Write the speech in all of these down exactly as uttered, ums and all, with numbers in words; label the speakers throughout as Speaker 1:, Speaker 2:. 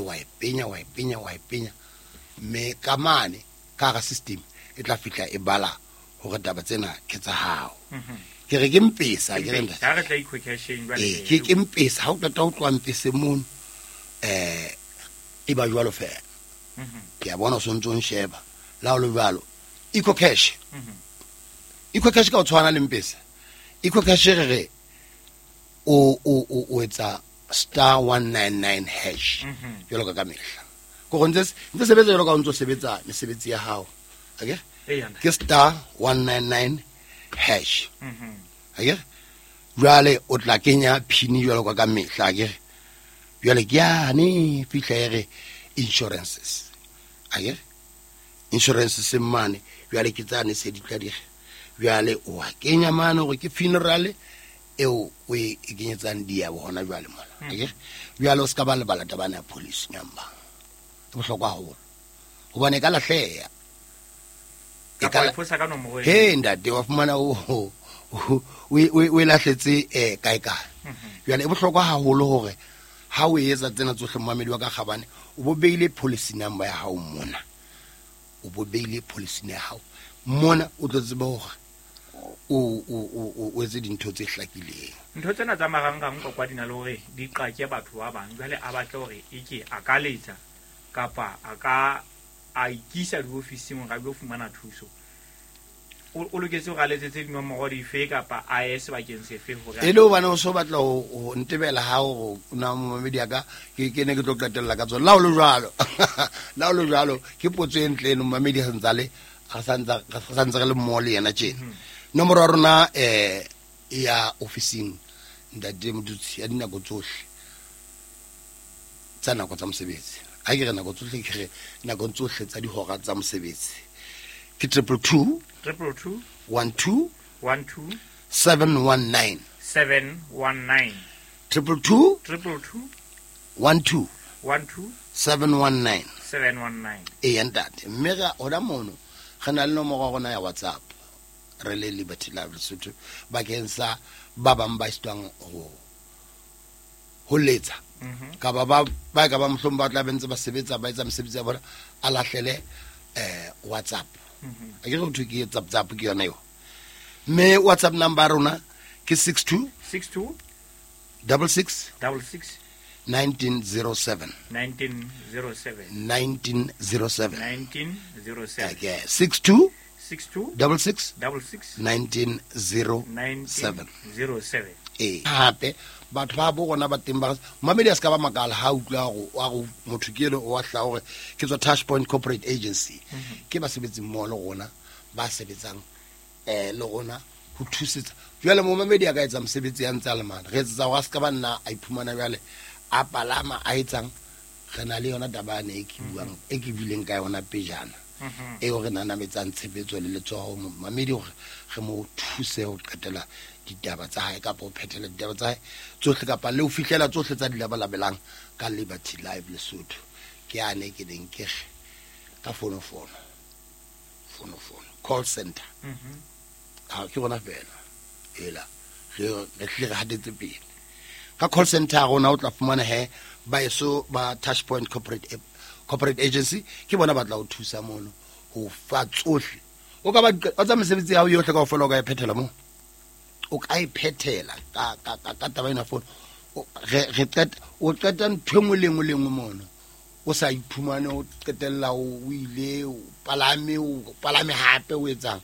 Speaker 1: Wa e penya, wa e penya, wa e penya, mme ka mane ka hara system e tla fihla e bala hore taba tsena ke tsa hao. Ke re ke Mpesa, ke re ntate.
Speaker 2: Ha re tla EcoCasheng jwale.
Speaker 1: Ee, ke ke Mpesa. Ha o qeta ho tloha Mpese mono, um e ba jwalo fela. Ke a bona o sontso o nsheba. Le ha o le jwalo, EcoCash, EcoCash ka o tshwana le Mpesa. EcoCash re re o o o o etsa star one nine nine hash jwalo ka ka mehla. Ko go ntse ntse sebetsa jwalo ka o ntso sebetsa mesebetsi ya hao. Akere?
Speaker 2: Eya, ntate.
Speaker 1: Ke star one nine nine hash. Akere? Jwale o tla kenya PIN jwalo ka ka mehla, akere? Jwale ke yane fihla e re insurances. Akere? Insurances mane, jwale ke tsane se di tla di re. Jwale o a kenya mane hore ke funeral eo o e kenyetsang diabo hona jwale mona. Akere? Jwale o ska ba lebala taba ya policy number. E bohlokwa haholo. Hobane e ka lahleha. E
Speaker 2: Kapa
Speaker 1: ka
Speaker 2: wa
Speaker 1: la-
Speaker 2: e fosa ka nomoro e.
Speaker 1: He ntate, wa fumana o o o o e lahletse eh kae kae. Jwale e bohlokwa haholo hore ha o etsa tsena tsohle, momamedi wa ka kgabane, o bo beile policy number ya hao mona. O bo beile policy ya hao mona, o tlo tseba hore o o o o etse dintho tse hlakileng.
Speaker 2: Ntho tsena tsa marangrang kwa di na le hore di qake batho ba bang. Jwale a batle hore e ke a ka letsa kapa a ka a ikisa diofising hore a lo fumana thuso. O o loketse hore a letsetse dinomoro dife kapa a ye sebakeng sefe hore
Speaker 1: E le hobane o so batla ho ho ntebela ha hore o na momamedi ya ka, ke ke ne ke tlo qetella ka tsona. La ho le jwalo, la ho le jwalo, ke potso e ntle eno. Momamedi ha santse le re santse re santse re le mmoho le yena tjena. Nomoro ya rona eh ya ofising, ntate Modutsi, ya dinako tsohle tsa nako tsa mosebetsi, ha ke re nako tsohle, ke re nakong tsohle tsa dihora tsa mosebetsi, ke triple two
Speaker 2: triple two
Speaker 1: one two
Speaker 2: one two
Speaker 1: seven one nine.
Speaker 2: seven one nine.
Speaker 1: Triple two
Speaker 2: triple two
Speaker 1: one two
Speaker 2: one two
Speaker 1: seven one nine.
Speaker 2: seven one nine.
Speaker 1: Eya ntate, mme re hona mono re na le nomoro ya rona ya WhatsApp re le Liberty Life Lesotho bakeng sa ba bang ba sitwang ho ho letsa, kapa ba ba ka ba mohlomong ba tla be ntse ba sebetsa, ba etsa mesebetsi ya bona, a lahlele eh WhatsApp. A ke re ho thwe ke zap zap, ke yona eo. Mme WhatsApp number ya rona ke six two
Speaker 2: six two
Speaker 1: double six
Speaker 2: double six
Speaker 1: nineteen zero seven.
Speaker 2: nineteen zero seven.
Speaker 1: nineteen zero seven.
Speaker 2: nineteen zero seven.
Speaker 1: Okay, six two
Speaker 2: six two
Speaker 1: double six
Speaker 2: double six
Speaker 1: nineteen zero
Speaker 2: nineteen
Speaker 1: seven.
Speaker 2: zero seven.
Speaker 1: Ee, hape batho ba bo rona ba teng ba mamedi a se ka ba makala ha utlwa hore wa go motho ke eno wa hla hore ke tswa Touch Point Corporate Agency. Ke basebetsi mmoho le rona ba sebetsang eh le rona ho thusetsa. Jwale momamedi a ka etsa mosebetsi ya ntse a le mane, re etsetsa hore a se ka ba nna a iphumana jwale a palama a etsang. Re na le yona taba yane e ke buang, e ke buileng ka yona pejana, eo re nanametsang tshebetso le letsoho momamedi hore re mo thuse ho qetela ditaba tsa hae kapa ho phethela ditaba tsa hae tsohle kapa le ho fihlela tsohle tsa di labalabelang ka Liberty Life Lesotho. Ke ane ke neng ke re ka fonofono, fonofono call center ha ke rona fela ela re re hlile re hatetse pele ka call center ya rona. O tla fumana he ba eso ba Touch Point Corporate Corporate Agency, ke bona ba tla o thusa mono ho fa tsohle. O ka ba o tsa mesebetsi ya hao yohle kaofela, o ka e phethela moo, o ka e phethela ka ka ka ka taba ena fono. O re re qeta, o qeta ntho e nngwe le nngwe le nngwe mono, o sa iphumane o qetella o ile o palame, o palame hape o etsang.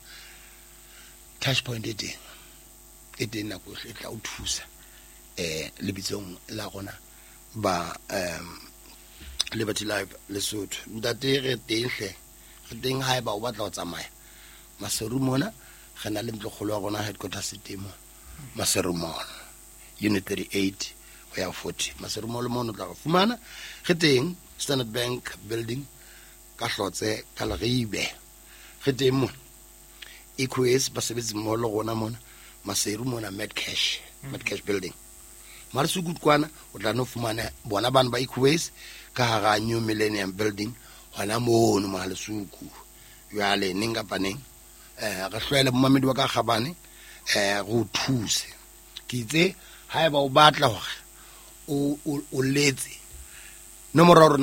Speaker 1: Touch Point e teng, e teng nako yohle, e tla o thusa eh lebitsong la rona ba um Liberty Life Lesotho. Ntate, re teng hle, re teng. Haeba o batla ho tsamaya Maseru mona, re na le ntlokgolo ya rona, headquarters e teng mo Maseru Mall, unit thirty-eight ho ya forty, Maseru Mall mono o tla re fumana re teng, Standard Bank building ka Hlotse ka Leribe, re teng mona. Equus basebetsi mmoho le rona mona Maseru mona, Medcash, Medcash building Malesuku kwana, o tla no fumana bona bana ba Equus ka hara New Millennium building hona mono Malesuku. Jwale neng kapa neng eh re hlwele momamedi wa ka kgabane, eh re o thuse. Ke itse haeba o batla hore o o letse nomoro ya rona.